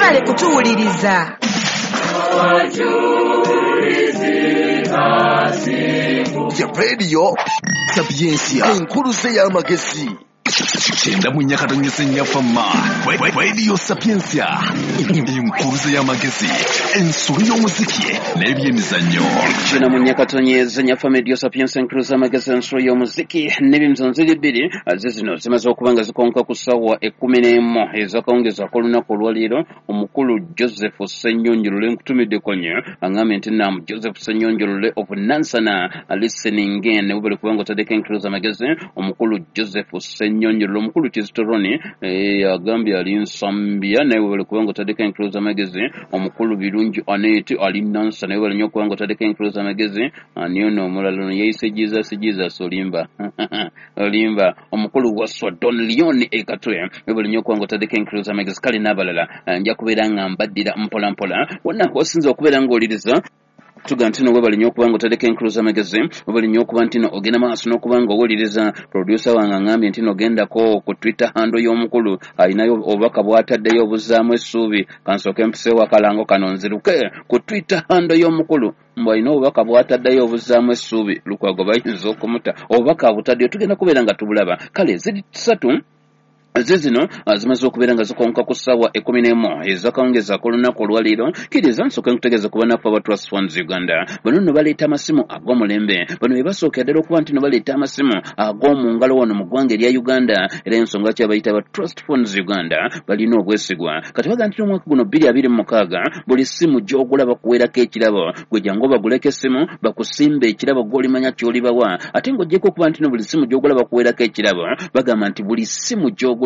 Mwebale kutuwuliriza. Ya Radio Sapientia, enkuluze y'amagezi. 94.4 Fama Radio Sapientia, enkuluze y'amagezi, ensolo y'omuziki n'ebyemizannyo. 94.4 Fama Radio Sapientia, enkuluze y'amagezi, ensolo y'omuziki n'ebyemizannyo. Ziri bbiri ze zino zimaze okuba nga zikonka ku ssaawa 11 ez'akawungeezi ak'olunaku olwaleero. Omukulu Joseph Ssenyonjolole nkutumidde konye, aŋŋambye nti nam Joseph Ssenyonjolole of Nansana listening in, webale kubanga otaddeko enkuluze amagezi. Omukulu Joseph Ssenyonjolole. Omukulu Kizito Roni agambye ali Nsambya, naye webale kubanga otaddeko enkuluze amagezi. Omukulu Birungi Anet ali Nansana, naye webale nnyo okubanga otaddeko enkuluze amagezi. Ani ono omulala? Ono yeeyise Jesus Jesus, olimba olimba. Omukulu Waswa Don Leon Ekatwe, webale nnyo okubanga otaddeko enkuluze amagezi. Kale n'abalala nja kubeera nga mbaddira mpola mpola wonna wasinza okubeera ng'oliriza. Tuga nti no webale nnyo okuba nga otaddeko enkuluze amagezi, webale nnyo okuba nti no ogenda maaso n'okuba nga owuliriza. Producer wange aŋŋambye nti no ogendako ku Twitter handle y'omukulu, alinayo obubaka bw'ataddeyo obuzzaamu essuubi. Kansooke mpiseewo akalango kano nziruke ku Twitter handle y'omukulu, mbu alina obubaka bw'ataddeyo obuzzaamu essuubi. Lukwago bayinza okumuta, obubaka abutaddeyo, tugenda kubeera nga tubulaba. Kale ziri ssatu ze zino zimaze okubeera nga zikonka ku ssaawa 11 ez'akawungeezi ak'olunaku olwaleero. Kkiriza nsooke nkutegeeza ku bannaffe aba Trust Funds Uganda. Bano nno baleeta amasimu ag'omulembe. Bano be basookera ddala okuba nti no baleeta amasimu ag'omu ngalo wano mu ggwanga erya Uganda, era ensonga ki abayita aba Trust Funds Uganda, balina obwesigwa. Kati baga nti n'omwaka guno 2026 buli ssimu gy'ogula bakuweerako ekirabo. Gwe jangu obaguleko essimu bakusimba ekirabo gw'olimanya ky'olibawa. Ate ng'oggyeko okuba nti no buli ssimu gy'ogula bakuweerako ekirabo, bagamba nti buli ssimu gy'ogula